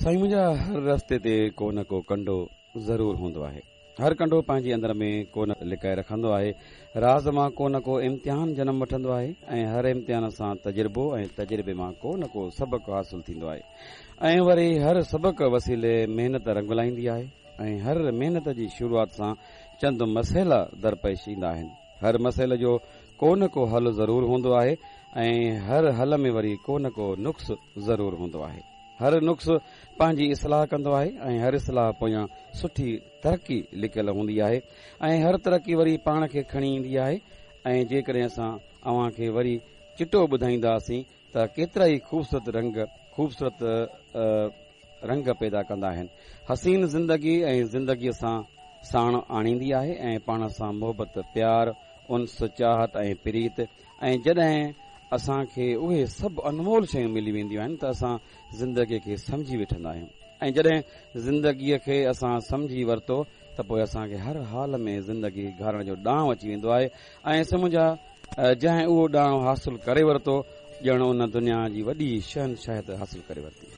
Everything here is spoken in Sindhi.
سائين منهنجا هر رستي تي ڪو نه ڪو ڪنڊو ضرور هوندو آهي. هر ڪنڊو پنهنجي اندر ۾ ڪو نه لڪائي رکندو آهي. راز مان ڪو نه ڪو امتحان جنم وٺندو آهي ۽ هر امتحان سان تجربو ۽ تجربي مان ڪو نه ڪو سبق حاصل ٿيندو آهي ۽ وري هر سبق وسيلي محنت رنگ لائيندي آهي ۽ هر محنت جي شروعات سان چند مسئلا درپيش ايندا آهن. هر مسئلي جو ڪو نه ڪو حل ضرور هوندو آهي ۽ هر حل ۾ وري ڪو نه ڪو نقص ضرور هوندو آهي. هر نقص پنهنجي اصلاح ڪندو آهي ۽ هر اصلاح پويان سٺي ترقي لڪيل هوندي آهي ۽ هر ترقي وري پاڻ کي کڻي ايندي آهي ۽ جيڪڏهن اسان اوهان کي وري چٽو ٻڌائينداسين ته ڪيترائي خوبصورت رنگ خوبصورت رنگ پيدا ڪندا آهن. حسين زندگي ۽ زندگيء سان ساڻ آڻيندي آهي ۽ پاڻ سان محبت، پيار، انس، چاهت ۽ پريت ۽ جڏهن اسان کي اهي سڀ انمول شيون ملي وينديون آهن ته اسان زندگيء کي سمجهي وٺندا آهيون ۽ جڏهن زندگيء کي اسان سمجهي ورتو ته پوء اسان کي هر حال ۾ زندگي گهارڻ جو ڏانء اچي ويندو آهي ۽ سمجهه جنهن اهو ڏانء حاصل ڪري ورتو ڄڻ ان دنيا جي وڏي شهنشاهيت حاصل ڪري ورتي.